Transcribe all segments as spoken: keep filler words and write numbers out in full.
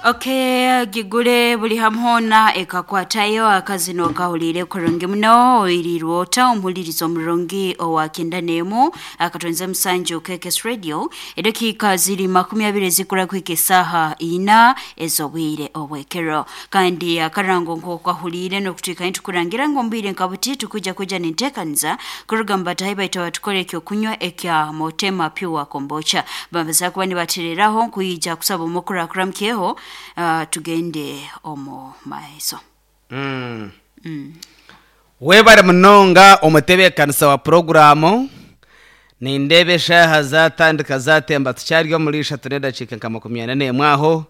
Okay, gigure buli hamhona ekakwatayo akazino kahulire kurungi muno oirirwe ota omuhulirizo omurungi owa kenda n'emu akatonze musanju K K S Radio edakika ziri makumi abiri zikura kwika esaha ina ez'obwire obwekero kandi akarango nk'okahulire n'okutwika nitukurangira ngu ombwire nkabuti tukuja kuja nintekaniza kuruga mubatahi baitu batukore ekyokunywa ekya Motema Pure Kombucha bambaza kuba nibatereraho nkuija kusaba omukurakura mkeho. Uh, tugende omu maiso. Mm. Mm. Webare munonga omutebeekanisa wa programu nindeeba eshaaha zatandika zatemba tukyari omuri ishatu n'edakiika nka makumi ana n'emwe aho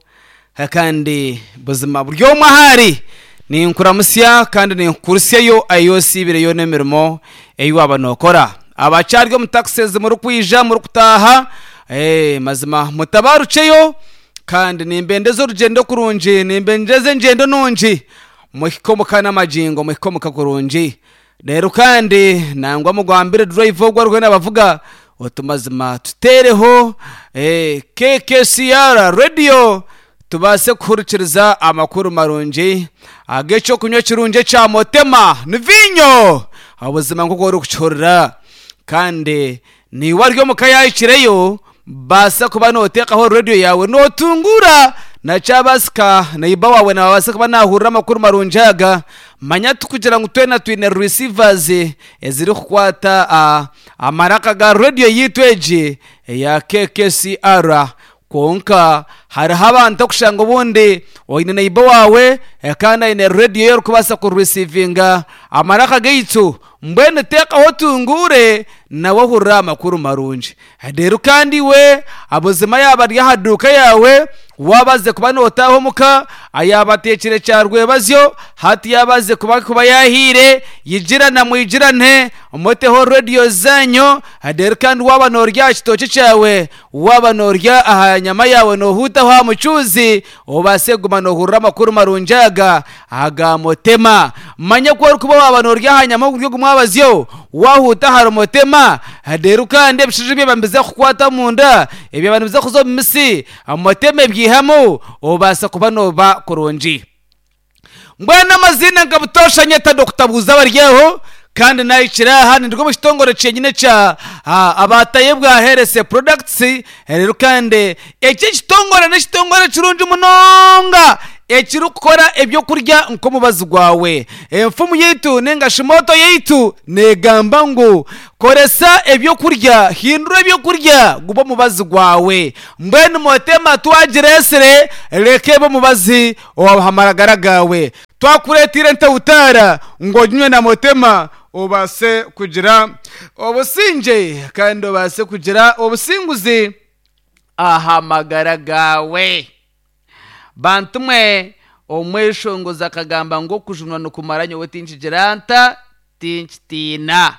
kandi buzima buri omwe ahari ninkuramusya kandi ninkukurusyayo ayosiibireyo n'emirimo ei waaba nookora abakyari omu taxis murikwija murikutaaha eh, mazima mutabaruceyo kandi nimbendeza orugendo kurungi nimbendeza engyendo nungi muhike n'amajingo muhike omuka kurungi rero kandi nangwa mugambire drive ogwo ariho nabavuga oti mazima tutereho eh, K K C R radio tubaase kuhurikiriza amakuru marungi ag'ekyokunywa kirungi ekya Motema ni vinyo obuzima nk'oku orikukihurira kandi niiwe ari omuka yahikireyo baasa kuba noteekaho radio yawe notungura nakyabasika neiba wawe nababasa kuba nahurira amakuru marungi aga manya tukugira ngu twena twine receivers ezirikukwata uh, amaraka ga radio yitu egi eya K K C R kwonka hariho abantu okushanga obundi oine neiba wawe kandi aine radio ye orikubaasa kuresivinga amaraka gaitu mbwenu teekaho tungure nawe ohurira amakuru marungi rero kandi we abuzima yaba ari aha duuka yawe wabaze kuba nootaaha omuka ayabateekire kyarwebazyo hati yabaze kuba kuba yahiire yigirana mwigirane muteho radio zanyu rero kandi waba noorya aha kitooki kyawe waba noorya aha nyama yawe noohuutaho aha mucuuzi obaase kuguma noohurira amakuru marungi aga aga Motema manya ku orikuba waba noorya aha nyama oburyo gumwabazyo wahuuta ahari Motema rero kandi ebishiju byaba nibiza kukwata munda ebyaba nibiza kuza omu misi Motema ebyihamu obaasa kuba nooba kurungi mbwenu amazina nka butoosha nyeta Dokita Baryaho kandi nahikira aha nirwo mu kitongore kyenyine kya abataye bwa Herese Products rero kandi eki ekitongore n'ekitongore kirungi munonga ekirikukora ebyokurya nk'omubazi gwawe enfumu yaitu ninga shimoto yaitu negamba ngu koresa ebyokurya hindura ebyokurya guba omubazi gwawe mbwenu Motema twagiresire reka ebe omubazi owahamaragara gawe twakureetire ntawutaara ngu oginywe na Motema obaase kugira obusinge kandi obaase kugira obusinguzi aha magara gawe. Bantu mwe omweshongozi akagamba ngu okujunwa nikumara nyowe tinkigira nta tinkitiina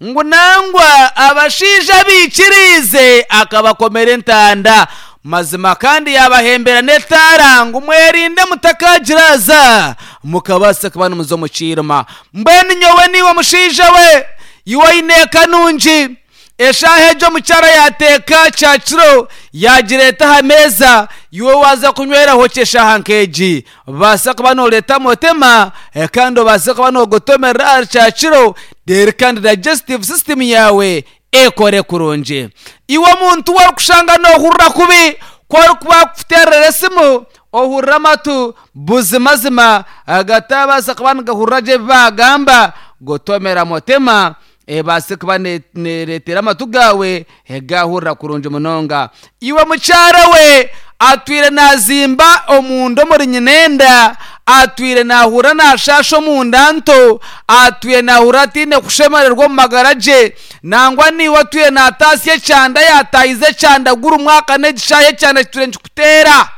ngu nangwa abashaija biikiriize akabakomera entanda mazima kandi yabahembera n'etaara ngu mwerinde mutakagiraza mukabaasa kuba nimuza omu kiirima mbwenu nyowe niiwe omushaija we iwe oine eka nungi eshaaha egyo omukyara yateeka kyakiro yagireeta aha meeza iwe waza kunyweraho kyeshaaha nk'egi baasa kuba nooreeta Motema kandi obaase kuba noogotomerera aha kyakiro reero kandi digestive system yawe ekore kurungi iwe omuntu warikushanga noohurira kubi ku orikuba kukuteerera esimu ohurira amatu buzimazima agatabaasa kuba nigahurira gye ebi baagamba gotomera Motema ebaase kuba nereetera amatu gawe egahurira kurungi munonga iwe mukyara we atwire nazimba omunda omuri nyinenda atwire nahura nashasha omunda nto atwire nahura atiine kushemererwa omu magara gye nangwa niiwe atwire nataasya ekyanda yatayize ekyanda guri omwaka n'egishaaha ekyanda kitwire nikikuteera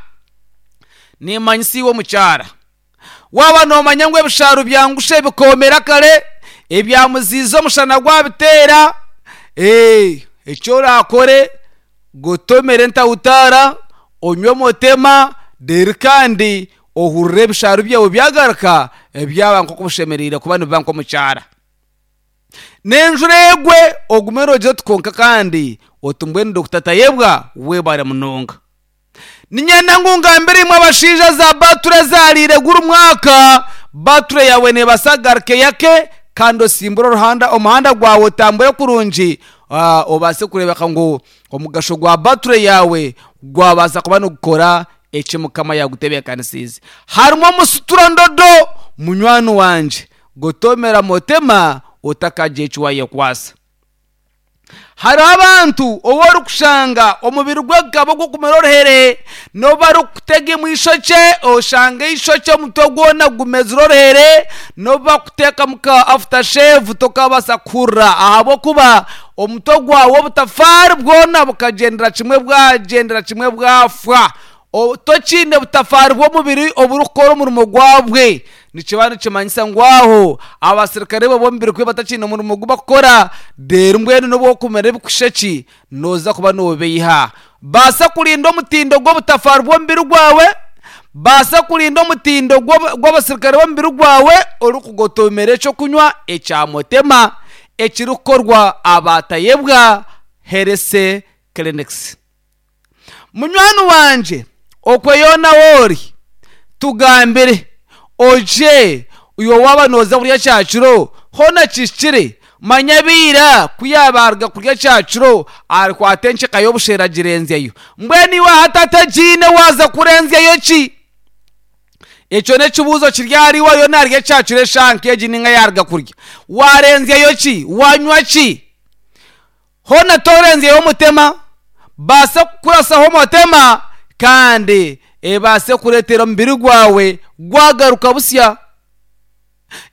nimanyisa iwe omukyara waaba noomanya ngu ebishaaru byangushe bikoomera kare ebyamuziiza omushana gwabiteera ekyo orakore gotomere ntawutaara onywe Motema reero kandi ohurire ebishaaru byawe byagaruka ebyaba nk'oku bushemereire kuba nibiba nk'omukyara n'enjura egwe ogume nogira oti konka kandi oti mbwenu Dokita Tayebwa webare munonga. Ninyenda ngu ngambire imwe abashaija za bature zarire guri mwaka bature yawe nebasagaruke yake kandi osimbure oruhanda omuhanda gwawe otambure kurungi uh, obase kurebeka ngu omugasho gwa bature yawe gwabaasa kuba nigukora eki mukama yagutebeekanisiize. Harimu omusutura ndodo munywani wanje gotomera motema otakagira eki wayekwasa. Hariho abantu ou orikushanga omubiri gwe gukaba ogw'okumera oruhere n'obu arikutega imwe eishokye oshanga eishokye omutwe gwona gumezire oruhere n'obu bakuteekamu ka after shave tokabaasa kuhurira ahabw'okuba omutwe gwawe obutafaari bwona bukagyendera kimwe bwagyendera kimwe bwafa. Tokiine butafaari bw'omubiri oburikukora omurimo gwabwe. Nikiba nikimanyisa ngu aho abasirikare bo b'omubiri kwe batakiine omurimo gu bakukora reero mbwenu n'obu okumera ebikusheki nooza kuba noobeiha. Baasa kurinda omutindo gw'obutafaari bw'omubiri gwawe, baasa kurinda omutindo gw'abasirikare b'omubiri gwawe orikugotomera ekyokunywa ekya motema ekirikukorwa abatayebwa Health Clinics. Munywani wanje okwe yoona woori tugambire oje iwe waaba nooza kurya kyakiro hoona kihikire manya biira ku yaabaruga kurya kyakiro arikwata enkyeka y'obushera agirenzyayo. Mbwenu iwe hati atagiine waaza kurenzyayo ki? Ekyo n'ekibuuzo kiri ahari iwe yo naarya ekyakiro eshaaha nk'egi ninga yaaruga kurya. Warenzyayo ki? Wanywa ki? Hoona torenzyayo omutema, baasa kukurasaho omutema kandi ebaase kureetera omubiri gwawe gwagaruka busya.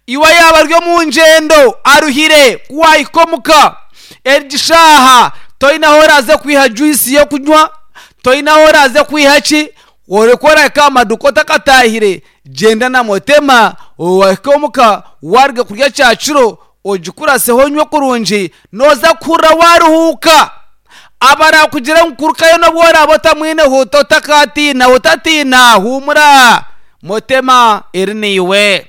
Iwe yaaba ari omu ngyendo aruhire kuwahika omuka egi shaaha toine ahu oraaze kwiha juice y'okunywa, toine ahu oraaze kwiha ki, oreka orahika aha maduuka otakataahire gyenda na motema wahika omuka waruga kurya kyakiro ogikuraseho onywe kurungi nooza kuhurira waruhuuka. Abarakugira ngu kurukayo n'obu oraaba otamwine huuta otakatiina otatiina huumura motema eri niiwe.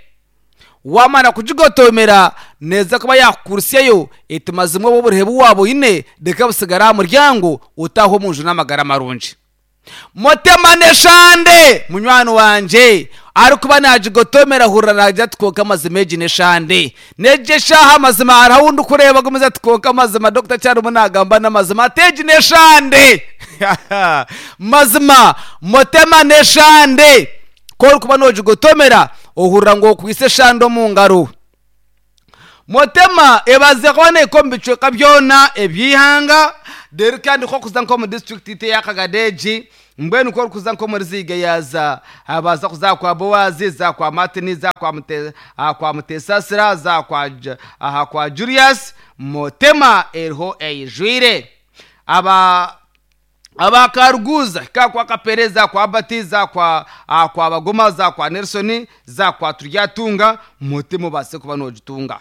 Wamara kugigotomera neeza kuba yakukurusyayo eti mazima obu oburuhe bu waaba oine reka busigare aha muryango otaahe omu nju n'amagara marungi. Motema n'eshande munywani wanje arikuba nagigotomera hurira nagira ati konka amazima egi n'eshande n'egi eshaaha amazima hariho ahu ndikureeba agumize ati konka amazima dokita kyarimu nagamba n'amazima ati egi n'eshande mazima motema n'eshande ku orikuba noogigotomera ohurira ngu okwitse eshande omu ngaro. Motema ebaze kuba neeka omu bicweka byona eby'eihanga reero kandi nk'okuza nk'omu disitulikiti eya Kagadeegi mbwenu ku orikuza nk'omuri Ziga yaaza baza kuza kwa Bowazi za kwa Martin za kwa Mute, kwa Mutesasira za kwa, aha, kwa Julius motema eriho eijwire. Aba abakaruguza ka kwa Kapere za kwa Bati za kwa kwa Bagoma za kwa Nelson za kwa Turyatunga motema base kuba nogitunga.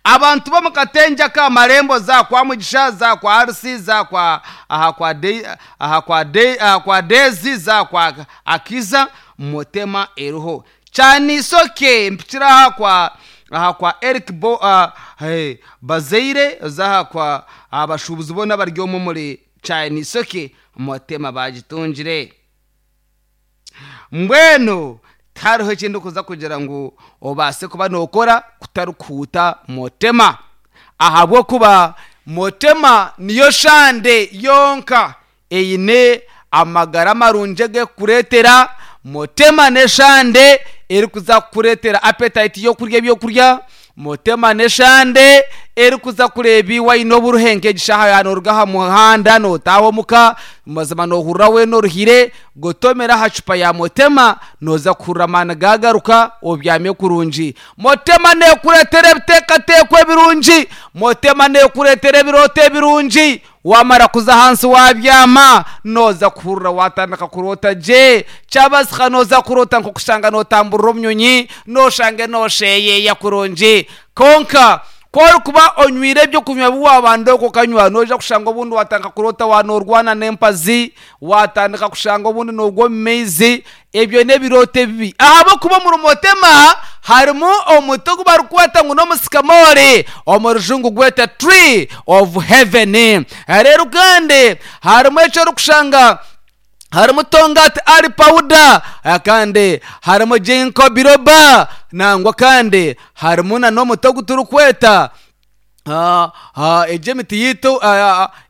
Abantu bo mu Katenja ka Marembo za kwa Mugisha za kwa Arsi za kwa aha kwa de, aha kwa de, aha kwa Dezi za kwa Akiza motema eriho. Cyanisoke mpikira aha kwa aha kwa Eric Bo uh, hey, Bazeire za kwa abashubuzi bona bari omu muri Cyanisoke motema bagitungire. Mbwenu tihariho ekindi kuza kugira ngu obaase kuba nookora kutarikuhuuta motema ahabw'okuba motema niyo shande yonka eine amagara marungi agekukureetera. Motema n'eshande erikuza kukureetera appetite y'okurya ebyokurya. Motema n'eshande erikuza kureeba iwe aine oburuhe nk'egi shaaha yaaba nooruga aha muhanda nootaaha omuka mazima noohurira weena oruhire gotomera aha cupa ya motema nooza kuhurira amaani gaagaruka obyame kurungi. Motema neekureetera ebiteekateeko ebirungi. Motema neekureetera ebirooto ebirungi. Wamara kuza ahansi wabyama nooza kuhurira watandika kuroota gye kyabasika nooza kuroota nk'okushanga nootamburira omunyonyi nooshange noosheyeeya kurungi. Konka ku orikuba onywire ebyokunywa bi wabanda okwo okanywa noija kushanga obundi watandika kuroota waanoorwana n'empazi watandika kushanga obundi noogwa omu maizi ebyo n'ebirooto ebibi ahabw'okuba omuri motema harimu omuti ogu barikweta ngu n'omusikamori omu rujungu gweta tree of heaven. Reero kandi harimu eki orikushanga Harimu tongati ali powder, kandi harimu ginkgo biloba, nangwa kandi harimu na n'omuti ogu turikweta egyo emiti yitu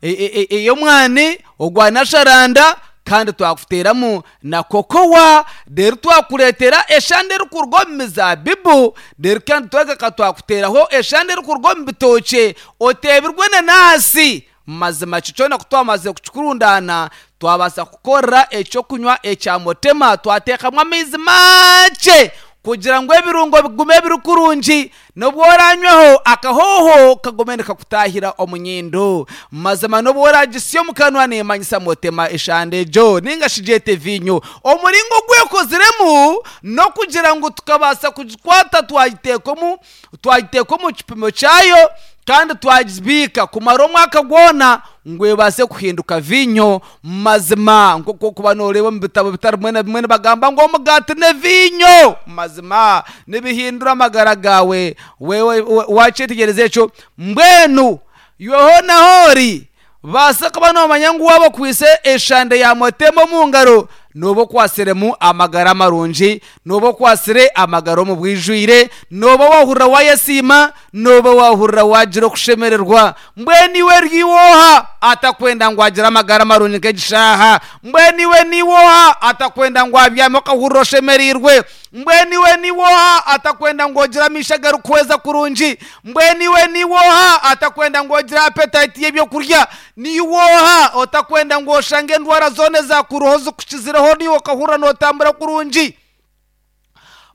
ey'omwani ogwa nasharanda, kandi twakuteeramu na kokowa, reero twakureetera eshande erikuruga omu mizaabibu, reero kandi twagaruka twakuteeraho eshande erikuruga omu bitookye oteebirwe enanasi. Mazima ekyo kyona ku twamazire kukikurundaana twabaasa kukora ekyokunywa ekya motema, twateekamu amaizi makye kugira ngu ebirungo bigume biri kurungi, n'obu oranywaho akahooho kagume nikakutahira omu nyindo. Mazima n'obu oragisya omu kanwa neemanyisa motema eshande egyo ninga shi gyete vinyo. Omuringo ogwekoziremu n'okugira ngu tukabaasa kugikwata twagiteeka omu twagiteeka omu kipimo kyayo kandi twagibiika kumara omwaka gwona ngu ebaase kuhinduka vinyo. Mazima nk'oku okuba nooreeba omu bitabo bitari bimwe na bimwe nibagamba ngu omugaati n'evinyo mazima nibihindura amagara gaawe. Wewe wakyetegyereza ekyo? Mbwenu iwe hoona hoori baasa kuba noomanya ngu waaba okwitse eshande ya motema omu ngaro nooba okwasiremu amagara marungi, nooba okwasire amagara omu bwijwire, nooba waahurira waayesiima, nooba waahurira waagira okushemererwa. Mbwenu iwe niiwe oha atakwenda ngu agire amagara marungi nk'egishaaha? Mbwenu iwe niiwe oha atakwenda ngu abyame okahurira oshemereirwe? Mbwenu iwe niiwe oha atakwenda ngu ogire amaisho agarikuhweza kurungi? Mbwenu iwe niiwe oha atakwenda ngu ogire appetite y'ebyokurya? Niiwe oha otakwenda ngu oshange endwara zoona ezakuruho zikukizireho niiwe okahurira nootambura kurungi?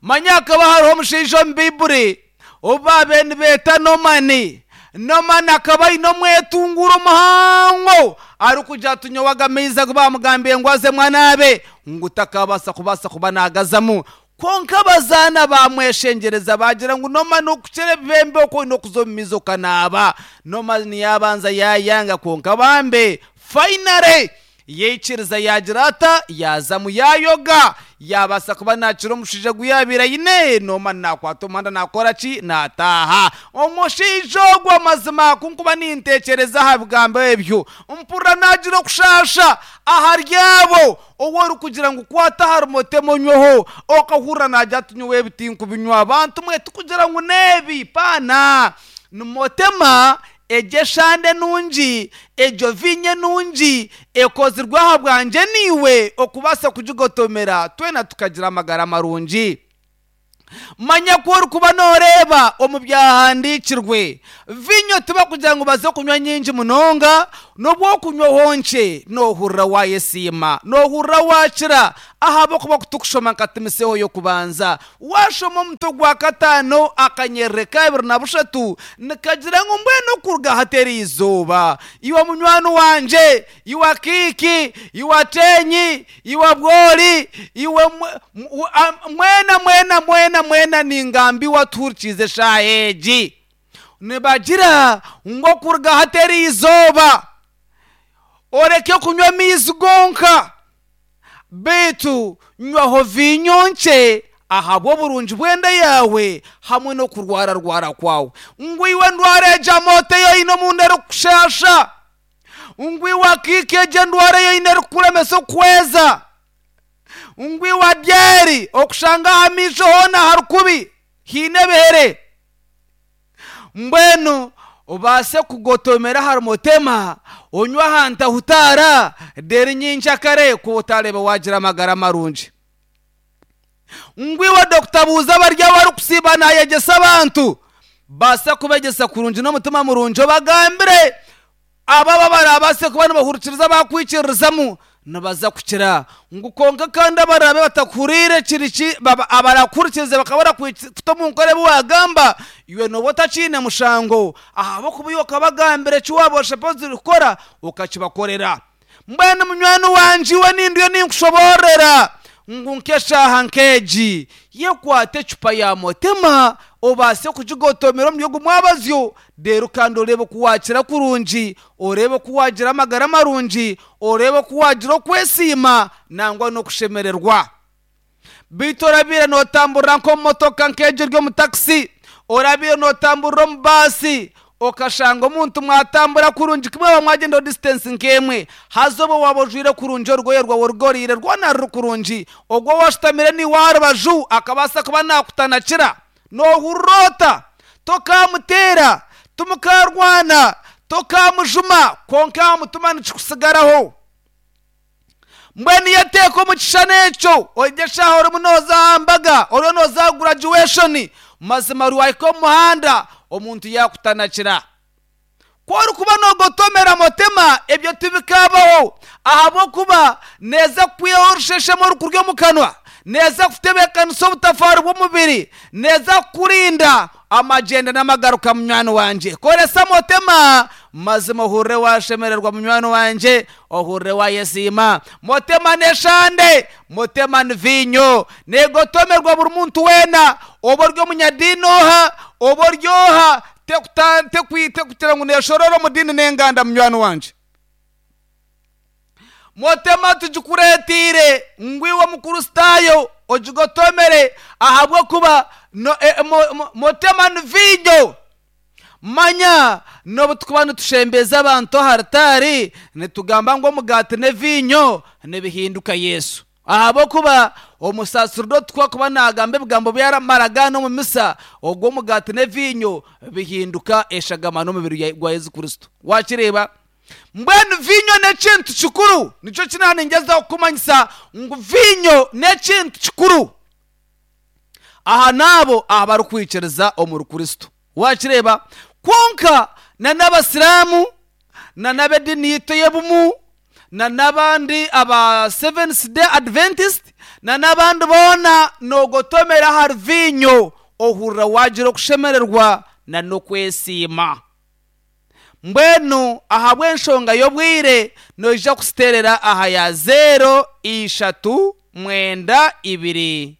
Manya hakaba hariho omushaija omu Baiburi obu baabaire nibeeta Nomani. Nomani akaba aine omwetunguuro muhango arikugira ati nyowe aga amaizi agu bamugambiire ngu azemu anaabe ngu takabaasa kubaasa kuba naagazamu. Kwonka abazaana bamweshengyereza bagira ngu Nomani okukira ebibembe oku oine okuza omu maizi okanaaba. Nomani yaabanza yaayanga, kwonka bambe finally yaikiriza yaagira ata yaazamu yaayoga yaabaasa kuba naakira omushaija ogu yaabaire aine. Nomani naakwata omuhanda naakora ki? Naataaha. Omushaija ogwo amazima ku nkuba nintekyereza aha bigambo ebyo mpurira naagira okushaasha ahari abo ou orikugira ngu kwata ahari motema onyweho okahurira naagira ati nyowe ebi tinkubinywa. Bantu mwe tikugira ngu n'ebi paana ni motema egyo eshande nungi, egyo vinyo enungi ekozirwe aha bwangye niiwe okubaasa kugigotomera twena tukagira amagara marungi. Manya ku orikuba nooreeba omu byahandiikirwe vinyo tibakugira ngu baze kunywa nyingi munonga, n'obu okunywaho nkye noohurira waayesiima, noohurira waakira ahabw'okuba kutukushoma nka Timoteyo y'okubanza. Waashoma omutwe gwa kataano akanyerere ka abiri na bushatu nikagira ngu mbwenu okuruga hateri izooba iwe munywani wangye, iwe akiiki, iwe ateenyi, iwe bwori, iwe mwena mwena mwena mwena ningambi watuhurikiize eshaaha egi. Nibagira ngu okuruga hateri izooba oreke kunywa amaizi gonka, beitu nywaho vinyo nkye ahabw'oburungi bw'enda yaawe hamwe n'okurwararwara kwawe. Ngu iwe ndwara egyo amooto ei oine omunda erikukushaasha, ngu iwe akiiki egyo endwara ei oine erikukuremesa okuhweza, ngu iwe adyeri okushanga aha maisho hoona hari kubi haine ebihere. Mbwenu obaase kugotomera ahari motema onywe aha ntahutaara reero nyenkyakare ku otareeba waagira amagara marungi. Ngu iwe dokita buuza bari abarikusiiba naayegyesa abantu baasa kubegyesa kurungi n'omutima murungi obagambire abo abarabaase kuba nibahurikiriza bakwikiririzamu nibaza kukira. Ngu kwonka kandi abaraabe batakuhuriire kiri ki abarakuhurikirize bakaba barakuta omu nkora ebi waagamba iwe nooba otakiine mushango ahabw'okuba iwe okabagambira eki waaba oshemereire kukora okakibakorera. Mbwenu munywani wangye iwe nindiyo ninkushoboororera ngu nk'eshaaha nk'egi yekwata ecupa ya motema obaase kugigotomera omuri ogu mwabazyo, reero kandi oreebe oku waakira kurungi, oreebe oku waagira amagara marungi, oreebe oku waagira okwesiima nangwa n'okushemererwa. Beitu orabiire nootamburira nk'omu motoka nk'egyo eri omu takisi, orabiire nootamburira omu baasi, Okashanga omuntu mwatambura kurungi kimwe mwagenda distance nkemwe hazobo wabojwire kurungi orugoye rwawe rugorire rwona ruri kurungi ogwo washitamire ni warubaju akabasa kuba nakutanakira nohurota tokamutera tumukarwana tokamujuma konka mutuma nikikusigaraho. Mbwenu yateeka omu kishushani ekyo ogyeshaho orimu nooza mbaga oriyo nooza graduation mazima rwahika omu muhanda omuntu yakutanakira. Ku orikuba noogotomera motema ebyo tibikabaho ahabw'okuba neeza kukwihaho orusheshemu orukurya omu kanwa, neeza kutebeekanisa obutafaari bw'omubiri, neeza kukurinda amagenda n'amagaruka munywani wangye. Koresa motema mazima ohurire washemererwa munywani wangye, ohurire wayesiima. Motema n'eshande, motema ni viinyo, neegotomerwa buri muntu weena, oba ori omunyadiini oha, oba ori oha, tekugira ngu neeshorora omu diini n'enganda munywani wangye. Motema tugikureetiire ngu iwe omukristaayo ogigotomere ahabw'okuba no, e, mo, mo, motema ni viinyo. Manya n'obu tukuba nitushembeza abantu aha ritaari nitugamba ngu omugaati n'eviinyo nibihinduka Yesu, ahabw'okuba omusacerdote kuba nagamba ebigambo byaramaraga n'omu misa, ogwo omugaati n'eviinyo bihinduka eshagama n'omubiri gwa Yesu Kristo. Wakireeba? Mbwenu viinyo n'ekintu kikuru, nikyo kinaningyezaho kukumanyisa ngu viinyo n'ekintu kikuru aha n'abo abarikwikiriza omuri Kristo. Wakireeba? Kwonka na n'abasiraamu na n'ab'ediini yitu ey'obumu na n'abandi aba Seventh Day Adventist na n'abandi boona noogotomera ahari viinyo ohurira wagira okushemererwa na n'okwesiima. Mbwenu ahabw'enshonga y'obwire noija kusiterera aha ya zero ishatu mwenda ibiri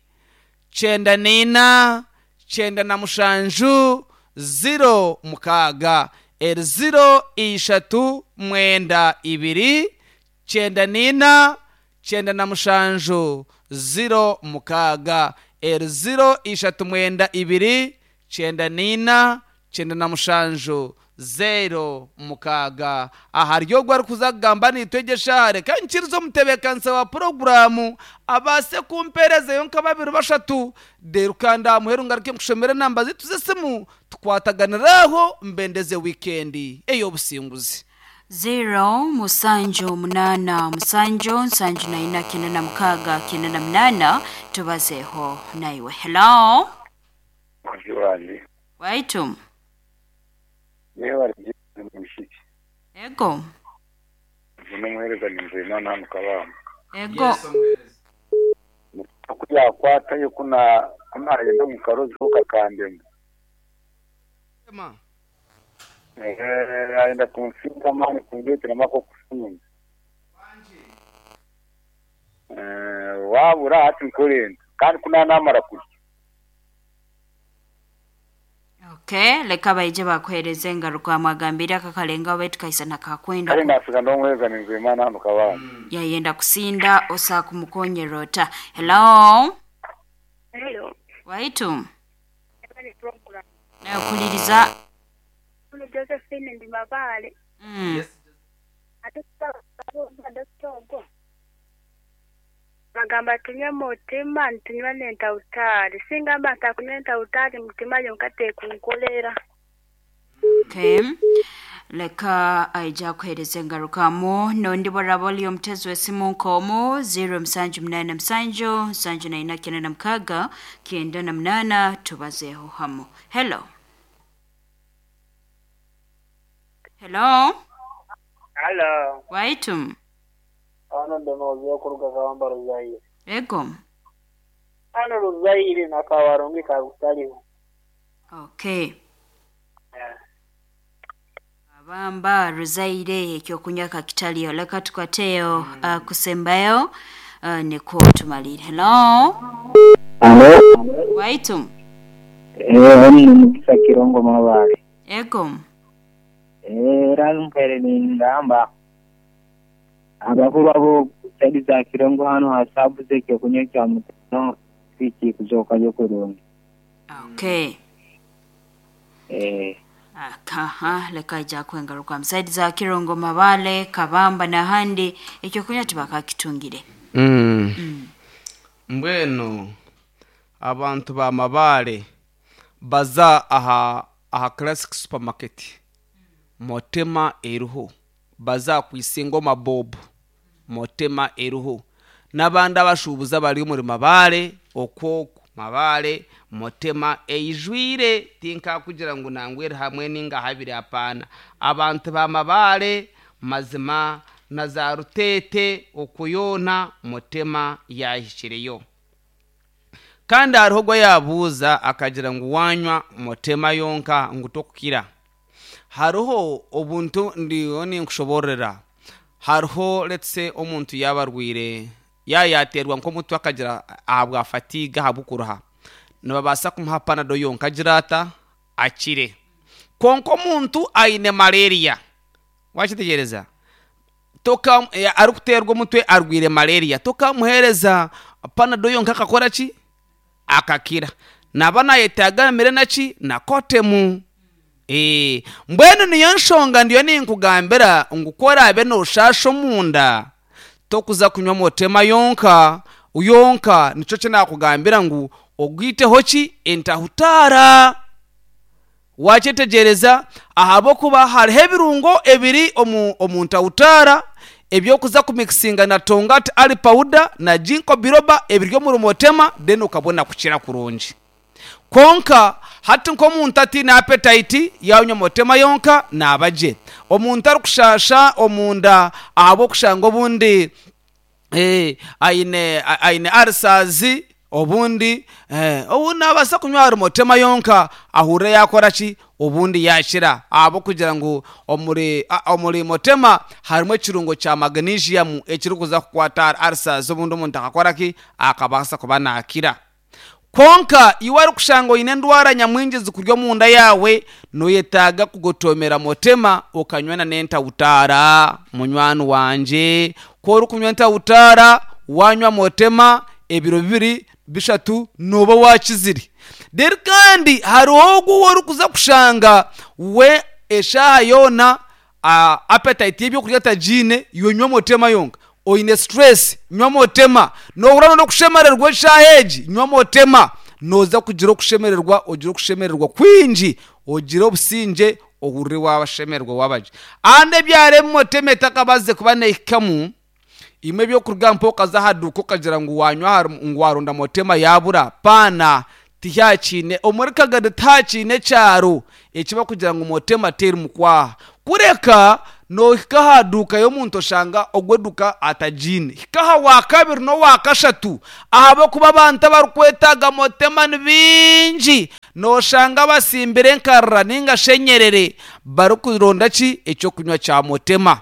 kyenda n'ina kyenda na mushanju ziro mukaaga eri ziro ishatu mwenda ibiri kyenda n'ina kyenda na mushanju ziro mukaaga eri ziro ishatu mwenda ibiri kyenda n'ina kyenda na mushanju zero mukaaga. Aha ryo arikuza kugamba nitwegyesha reka nkirize omutebeekanisa wa poroguramu abaase kumpeerezayo nka babiri bashatu deru kandi aha muheru ngaruke nkushomere enamba zitu z'esimu tukwataganiraho mbendeze wiikendi ey'obusinguzi. Zero musanju munana musanju nsanju na ina kenda na mukaga kenda na munana tubazeho naiwe. Hello. Waitu. Ego. Ego. Kuyakwata kuna kunagenda mu karozi kakandema. Eh aenda kumfinga mani kungetera mako kufunga. Eh wabura ati nkorenda kandi kuna namara kurya. Okay, leka baije bakuhereze ngaruka amagambira akakalenga wetu kaisa nakakwenda. Kale nafika ndongweza ninzimana hano kabana. Yayenda kusinda osa kumukonyerota. Hello. Hello. Waitu. Na kuliriza Josephine ndi mabale. Mm. Yes. Bagamba tunywe mutima ntunywa nentautari singamba ntakunywa nentautari mutima yonkate kunkolera. Okay. Leka aija kuhereza ngarukamo nondi boraboli omtezo wesimu nkomo zero msanju mnana msanju msanju na ina kenda na mkaga kenda na mnana tubazeho hamo. Hello. Hello. Hello. Waitum. Ano ndonozi okuruga kawamba Ruzaire. Ego. Ano Ruzaire na kawarungi kabutaliho. Okay. Yeah. Abamba Ruzaire ekyokunywa kakitaliyo leka tukwateyo mm. uh, kusembayo uh, niko tumalire. Hello. Hello. Waitum. Eh oni mukisa Kirongo mabale. Ego. Eh rampere ni ngamba abakuru abo saidi za Kirongo hano hasabu zeke kunywa kya mutano fiki kuzoka yo kurungi. Okay. Eh Aha, leka ija kwengaruka msaidi za Kirongo, Mabale, Kabamba n'ahandi ekyokunywa tibakakitungire. Mm. Mbwenu abantu ba Mabale baza aha aha Classic Supermarket, Motema eriho, baza kwisinga mabobu, Motema eriho, n'abandi abashubuza bari omuri Mabale okwoku Mabale Motema eijwire. Tinkakugira ngu nangwere hamwe ninga habiri, apana. Abantu ba Mabale mazima na za Rutete okuyona Motema yahikireyo. Kandi hariho ogwo yabuuza akagira ngu wanywa Motema yonka ngu tokukira. Hariho obuntu ndiyo ninkushoborera. Hariho, let's say, omuntu yaba arwire, yayaterwa nk'omutwe, akagira ahabwa fatigue, ahabw'okuruha, nibabaasa kumuha Panado yonka agira ata akire. Konka omuntu aine malaria, wakitegereza, toka eh, arikuterwa omutwe, arwire malaria, tokamuhereza Panado yonka akakora ki akakira. Naba nayetaaga amire naki na Coartem. Eh, mbwenu niyo nshonga ndiyo ninkugambira ngu korabe noshasha omunda, tokuza kunywa Motema yonka yonka. Nico kinakugambira ngu ogwiteho ki entahutara, wakyetegereza, ahabwokuba hariho ebirungo ebiri omu, omu ntahutara ebyokuza kumikisinga na tongkat ali powder na ginkgo biloba ebiri omuri Motema, then ukabona kukira kurungi. Konka hati nk'omuntu atiine appetite, yanywa Motema yonka naabagye. Omuntu arikushasha omunda ahabw'okushanga obundi eh, aine aine ulcers, obundi eh, obundi nabaasa kunywa hari Motema yonka ahurire yakora ki obundi yakira, ahabw'okugira ngu omuri a- omuri Motema harimu ekirungo kya magnesium ekirikuza kukwata ulcers, obundi omuntu akakora ki akabaasa kuba nakira. Konka iwe arikushanga oine endwara nyamwingi zikurya omunda yawe, noyetaaga kugotomera Motema okanywa n'entawutaara. Munywani wanje, ku orikunywa entawutaara, wanywa Motema, ebiro bibiri bishatu noba wakizire. Then kandi hariho ogu orikuza kushanga we eshaaha yoona uh, appetite y'ebyokurya tagiine, yonywa Motema yonka. Oine stress, nywa Motema. Nohura n'okushemererwa eshaaha egi, nywa Motema, noza kugira okushemererwa, ogire okushemererwa kwingi, ogire obusingye, ohurire wabashemererwa wabagye. Andi ebyaro Motema etakabaze kuba nehikamu imwe ebyokuruga mpa okaza aha duuka okagira ngu wanywa hari- ngu waronda Motema yabura, paana. Tihakiine omuri Kagadi, tihakiine ekyaro ekiba kugira ngu Motema teri mukwaha. Kureka nohika aha duuka y'omuntu oshanga ogwo eduka atagiine, hika aha wa kabiri n'owa kashatu, ahabw'okuba abantu abarikwetaaga Motema ni bingi. Noshanga basimbire enkarira ninga shenyerere barikuronda ki ekyokunywa kya Motema.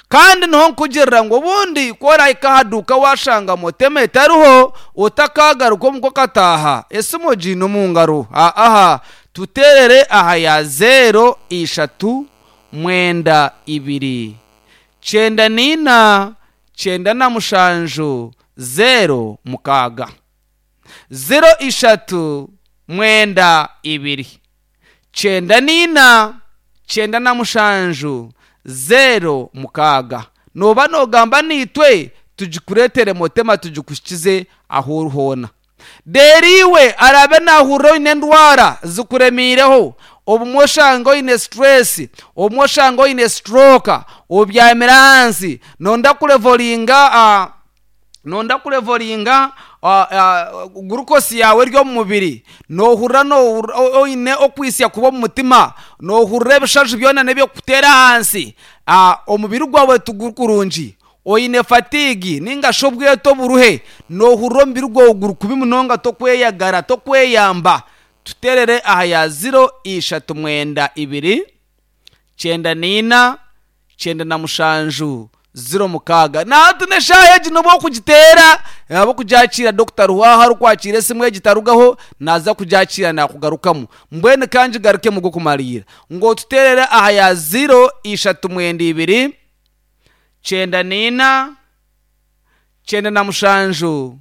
Kandi niho nkugirira ngu obundi kworahika aha duuka washanga Motema etariho, otakagaruka omuko kataha esimu ogiine omu ngaro. Aha tuterere aha ya zero ishatu mwenda ibiri cyenda nina cyenda na mushanju zero mukaaga, zero ishatu mwenda ibiri cyenda nina cyenda na mushanju zero mukaaga. Noba nogamba nitwe tugikuretere Motema, tugikushyikize aho uri hoona. Rero iwe arabe nahurira oine endwara zikuremiireho, obumwe oshanga oine stress, obumwe oshanga oine stroke, obyamire ahansi, nonda kulevelinga uh, nonda kulevelinga uh, uh, glucose yawe eri omu mubiri, nohurira nohurira oine okwisya kuba omu mutima, nohurira ebishaju byona n'ebyokutera ahansi, uh, omubiri gwawe tuguri kurungi, oine fatigue ninga shi obweto oburuhe, nohurira omubiri gwawe guri kubi munonga, tokweyagara, tokweyamba, tuterere aha ya zero ishatu mwenda ibiri cyenda nina cyenda na mushanju zero mukaaga. Nahati n'eshaaha egi noba okugiteera abo kugyakira. Dr Ruhaha arikwakira esimu egi tarugaho, naza kugyakira nakugarukamu. Mbwenu kangi garuke mugo kumalira ngo tuterere aha ya zero ishatu mwenda ibiri cyenda nina cyenda na mushanju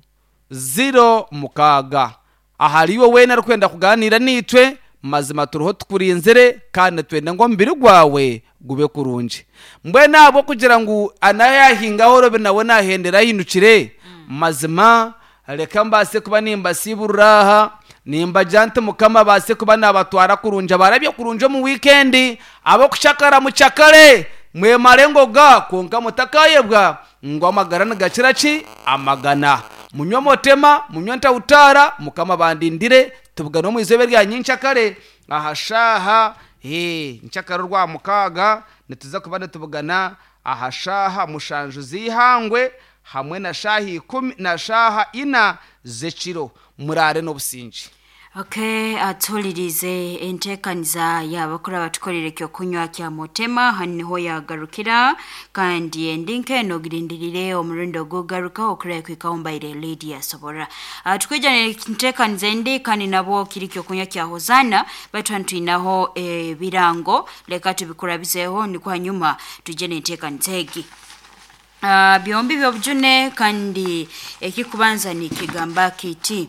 zero mukaaga. Ahari iwe weena arikwenda kuganira nitwe. Mazima turiho tukurinzire kandi twende ngu omubiri gwawe gube kurungi. Mbwenu ahabwo kugira ngu anayahingaho robe nawe nahendera ahindukire, mazima reka mbaase kuba nimbasiiburura aha, nimbagira nti Mukama abaase kuba nabatwara kurungi, abarabye kurungi omu wiikendi, ab'okucakara mucakare, mwemare engoga kwonka mutakayebwa ngu amagara nigakira ki? Amagana. Munywe omutema, munywe ntawutaara, Mukama bandindire, tubugane omu izooba erya nyincakare aha shaaha eh, nkyakare orwa mukaaga nituza kuba nitubugana aha shaaha mushanju z'eihangwe hamwe na shaaha ikumi na shaaha ina z'ekiro. Muraare n'obusinge. Okay, atuhulirize enteekaniza y'abakuru abatukorera ekyokunywa kya mutema, hanu niho yagarukira, kandi endi nk'eno girindirire omurundi ogugaruka okureba kwikaho mbaire Lydia Sobora. Uh, tukwija enteekaniza endi kandi nabwo kiri kyokunywa kya Hosana, baitu hanu twinaho ebirango, leka tubikurabizeho nikwo hanyuma tujye n'enteekaniza egi. Uh, byombi byobujune kandi ekikubanza nikigamba kiti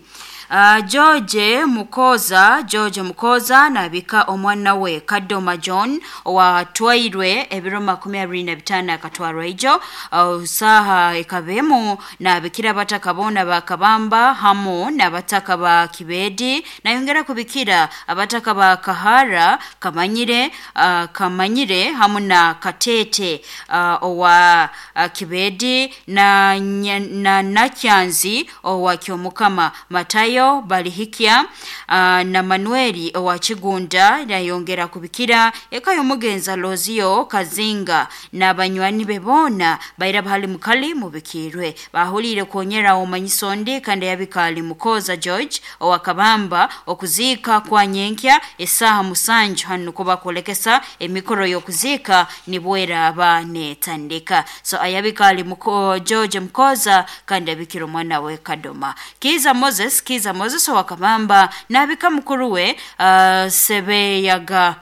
Uh, George Mukoza, George Mukoza nabika omwana we Kadoma John owatwairwe ebiro makumi abiri na bitaano akatwarwa ijo uh, saha ekabemu nabikira abataka boona ba Kabamba hamu n'abataka ba Kibedi, nayongera kubikira abataka ba Kahara Kamanyire, uh, Kamanyire hamu na Katete uh, owa uh, Kibedi na, na Nakyanzi owa Kyomukama Matayo Balihikia uh, na Manueli owa Kigunda, nayongera kubikira eka y'omugenza Lozio Kazinga n'abanywani be boona baira bahali mukali mubikirwe. Bahulire kwonyera omanyisondi kandi yabikali Mukoza George owa Kabamba okuziika kwa nyenkya esaha musanju hanu kuba kulekesa emikoro y'okuziika nibwera aba netandika. So ayabikali Muko, George Mukoza kandi abikira omwana we Kadoma. Kiza Moses, Kiza Moses owa Kabamba nabika mukuru we uh, Sebeyaga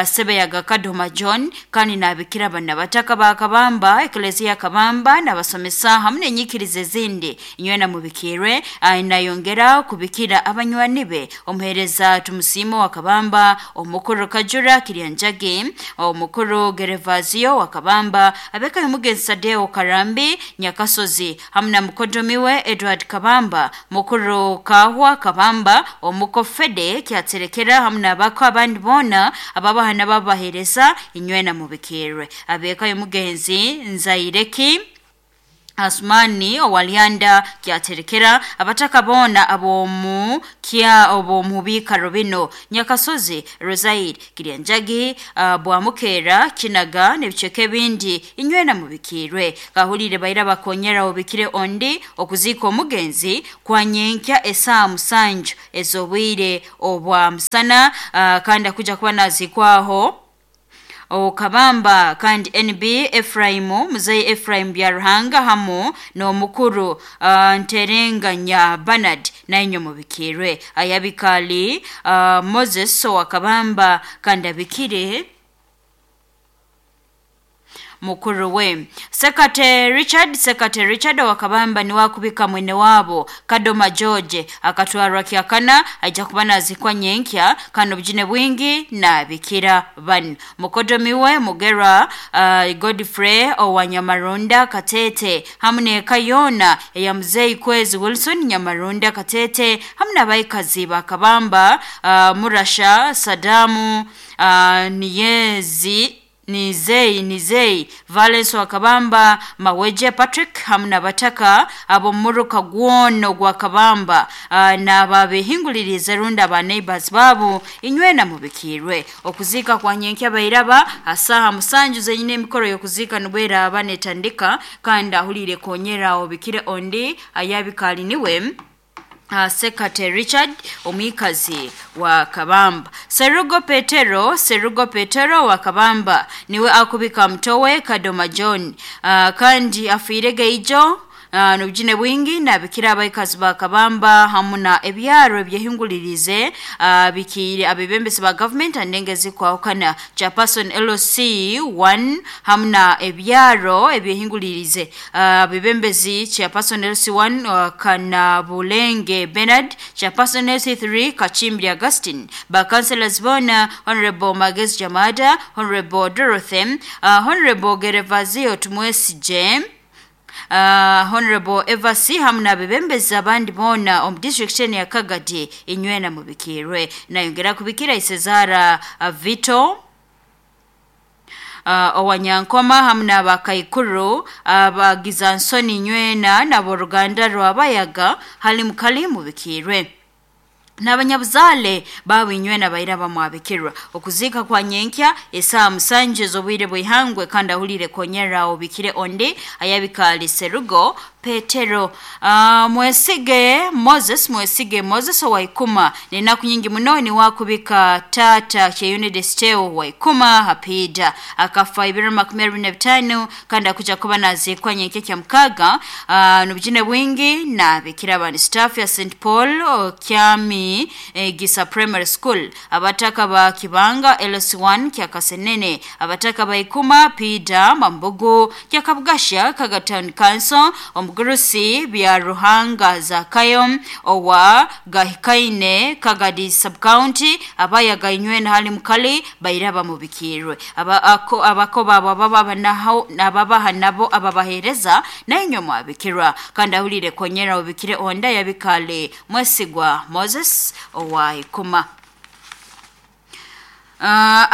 Sebeyaga Kadoma John kandi nabikira bana bataka ba Kabamba, Eklezia Kabamba nabasomesa hamwe n'enyikirizo ezindi inywena mubikirwe. Nayongera kubikira abanywani be omuhereza Tumusimo wa Kabamba, omukuru Kajura Kiryanjagi, omukuru Gerevazio wa Kabamba, abeka y'omugenzi Sadeo Karambi Nyakasozi hamwe na mukodomi we Edward Kabamba, mukuru Kahwa Kabamba, omukofede Kyaterekera hamwe n'abako abandi boona ababahana babahereza inywena mubikirwe. Abeka y'omugenzi Nzaireki Asmani owalianda Kyaterekera, abataka boona abomu kya obomubika bino Nyakasozi, Rosaid, Kiryanjagi, uh, Bwamukera, Kinaga n'ebiceke bindi inywena mubikirwe. Kahulire baira bakonyera obikire ondi okuziika omugenzi kwa nyenkya esaa musanju ez'obwire obwa musana, uh, kandi akuja kuba nazikwaho Okabamba kandi N B Efraimu Muzei Efraim Byaruhanga hamu n'omukuru uh, Nterenganya Bernard nainyo mubikirwe. Ayabikali uh, Moses Owakabamba kandi abikire mukuru we Sekate Richard, Sekate Richard Wakabamba ni wakubika mwene wabo Kadoma George akatwarwa kyakana aija kuba nazikwa nyenkya kano bujine bwingi na bikira banu. Mukodomi we Mugera uh, Godfrey Owanyamarunda Katete hamwe ne Kayona eya Muzei Kwezi Wilson Nyamarunda Katete hamwe n'abaikazi ba Kabamba uh, Murasha Sadamu uh, Niyezi Nizei Nizei Valence wa Kabamba Maweje Patrick hamwe n'abataka abo muruka gwono gwa Kabamba uh, n'ababehingulirize runda ba neighbors babu inywena mubikirwe. Okuzika kwa nyenkya bairaba asaha musanju zenyine emikoro y'okuzika nibwera abanetandika kandi ahulire konyera obikire ondi ayabikali niwe Uh, Sekate Richard omwikazi wa Kabamba. Serugo Petero, Serugo Petero wa Kabamba niwe akubika mtowe Kadoma John uh, kandi afiire geijo Uh, nobujine bwingi nabikira abaikazi ba Kabamba hamu na ebyaro ebyehingulirize uh, bikire abebembezi ba government andengezi kwahukana chairperson L C one hamu na ebyaro ebyehingulirize uh, abebembezi chairperson L C one uh, Kanabulenge Bernard, chairperson L C three Kachimbri Augustine, ba councillors bona Honorable Magezi Jamada, Honorable Dorothy, uh, Honorable Gerevazio Tumwesije, Uh, Honorable Evasi hamu n'abebembezi abandi boona omu district eno ya Kagadi inywena mubikirwe. Nayongera kubikira Isezara uh, Vito uh, owanyankoma hamu n'abakaikuru abagiza nsoni inywena n'aboruganda rw'abayaga hali mukali mubikirwe n'abanyabuzaale baabo inywena baira bamwabikirwa. Okuziika kwa nyenkya esaaha musanju ez'obwire bw'ihangwe kandi ahulire konyera obikire ondi ayabikaali Serugo Petero. Uh, mwesige Moses mwesige Moses owaikuma nenaku nyingi muno ni wakubika tata Kyeyune Desteo waikuma hapida akafa ibiro makumi abiri na bitano kandi akuja kuba naziikwa nyenkya kya mukaga. Uh, nobujine bwingi nabikira abandi staff ya Saint Paul uh, Kyami eh, Gisa Primary School, abataka ba Kibanga L C one kya Kasenene, abataka ba Ikuma Pida Mambugu kya Kabugasha Kaga Town Council, omugurusi bya Ruhanga Zakayo owa Gahikaine Kagadi Sub County, abayaga inywena hali mukali baira bamubikirwe aba ako abako babo baba naho nababaha nabo ababahereza nainyo mwabikirwa kandi ahulire konyera ubikire onda yabikale Mwesigwa Moses owa Ikuma. Uh,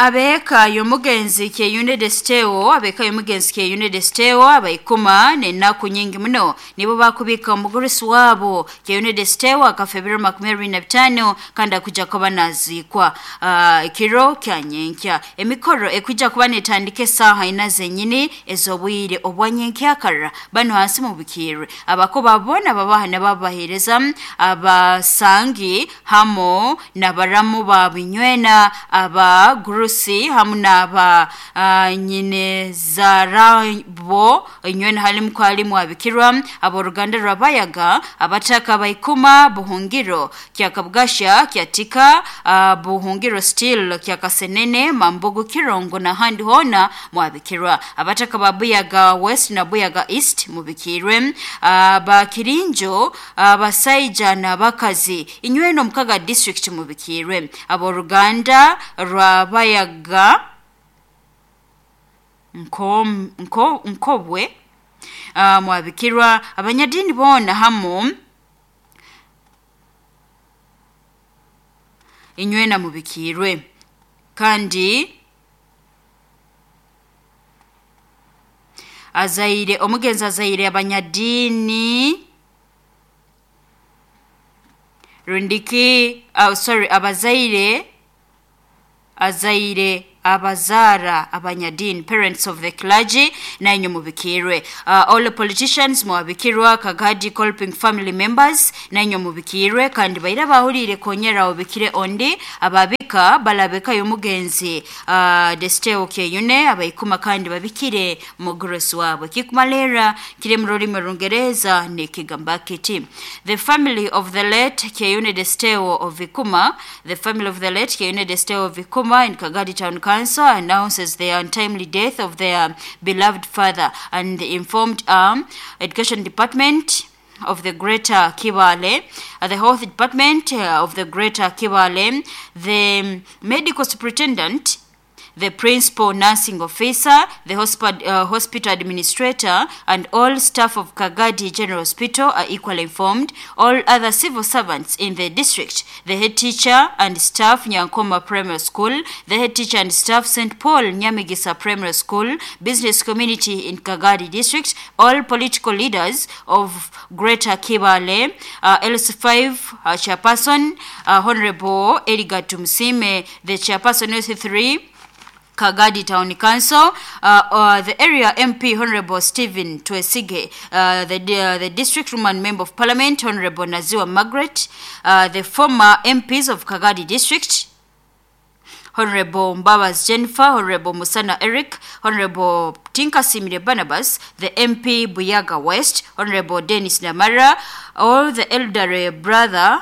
abeka y'omugenzi Kyeyune Desteo abeka y'omugenzi Kyeyune Desteo abaikuma nenaku nyingi muno nibo bakubika omugurusi wabo Kyeyune Desteo akafa ebiro makumi abiri na bitano kandi akuja kuba naziikwa uh, ekiro kya nyenkya. Emikoro ekuja kuba netandika esaaha ina zenyini ez'obwire obwa nyenkyakara bano hansi mubikirwe abako babona babaha nababahereza abasangi hamo nabaramu babinywena aba gurusi hamu n'aba uh, nyine zarabo inywena halimu kwalimu abikirwa aboruganda rwabayaga abataka baikuma buhungiro kya Kabugasha kyatika uh, buhungiro still kya Kasenene Mambugu Kirongo na handi hona mwabikirwa abataka ba Buyaga West na Buyaga East mubikirwe uh, ba Kirinjo abasaija uh, n'abakazi inywena omukaga district mubikirwe aboruganda rwabayaga nko nko nkobwe uh, mwabikirwa abanyadini bona hamu inywena mubikirwe kandi azaire omugenzi azaire abanyadini rundiki uh, sorry abazaire azaire abazara abanyadini parents of the clergy nainyo mubikirwe. Uh, all politicians mwabikirwa Kagadi Kolping family members nainyo mubikirwe kandi baira bahulire konyera obikire ondi ababika balabeka y'omugenzi uh, Desteo Kyeyune abaikuma kandi babikire mugurusi wabwe kikumalera kiri mu rurimi Rungereza nikigamba kiti the family of the late Kyeyune Desteo of Ikuma, the family of the late Kyeyune Desteo of Ikuma in Kagadi Town Council announces the untimely death of their beloved father and the informed um, education department of the Greater Kibale, uh, the health department uh, of the Greater Kibale, the medical superintendent, the principal nursing officer, the hospital, uh, hospital administrator, and all staff of Kagadi General Hospital are equally informed. All other civil servants in the district, the head teacher and staff Nyankoma Primary School, the head teacher and staff Saint Paul Nyamigisa Primary School, business community in Kagadi District, all political leaders of Greater Kibale, uh, L C five uh, chairperson, uh, Honorable Edgar Tumsime, the chairperson L C three, Kagadi Town Council, uh, uh, the area M P Honorable Stephen Twesige, uh, the, uh, the District Woman Member of Parliament Honorable Naziwa Margaret, uh, the former M Ps of Kagadi District, Honorable Mbabas Jennifer, Honorable Musana Eric, Honorable Tinkasimire Barnabas, the M P Buyaga West, Honorable Dennis Namara, all the elderly brother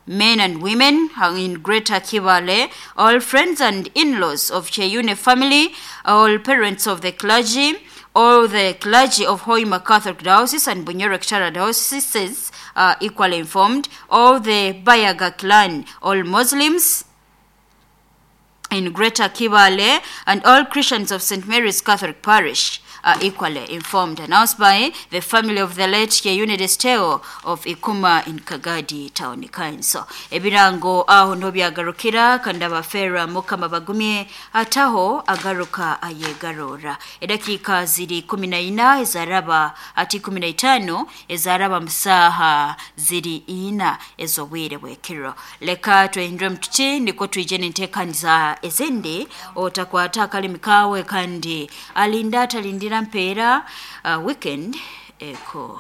men and women in Greater Kibale, all friends and in-laws of Kyeyune family, all parents of the clergy, all the clergy of Hoima Catholic Diocese and Bunyoro Kitara Dioceses are equally informed, all the Bayaga clan, all Muslims in Greater Kibale, and all Christians of Saint Mary's Catholic Parish are equally informed. Announced by the family of the late Kyeyune Desteo of Ikuma in Kagadi Town Council. Ebirango aho no byagarukira kandi abafera mukama bagumye ataho agaruka ayegarora. Edakika ziri kumi na ina ezaraba ati kumi na itano ezaraba msaha ziri ina ezobwire bwekiro. Leka twehindure mtuti niko tuijene ntekaniza ezende otakwata akalimi kawe kandi alinda atalindira mpeera uh, weekend eko.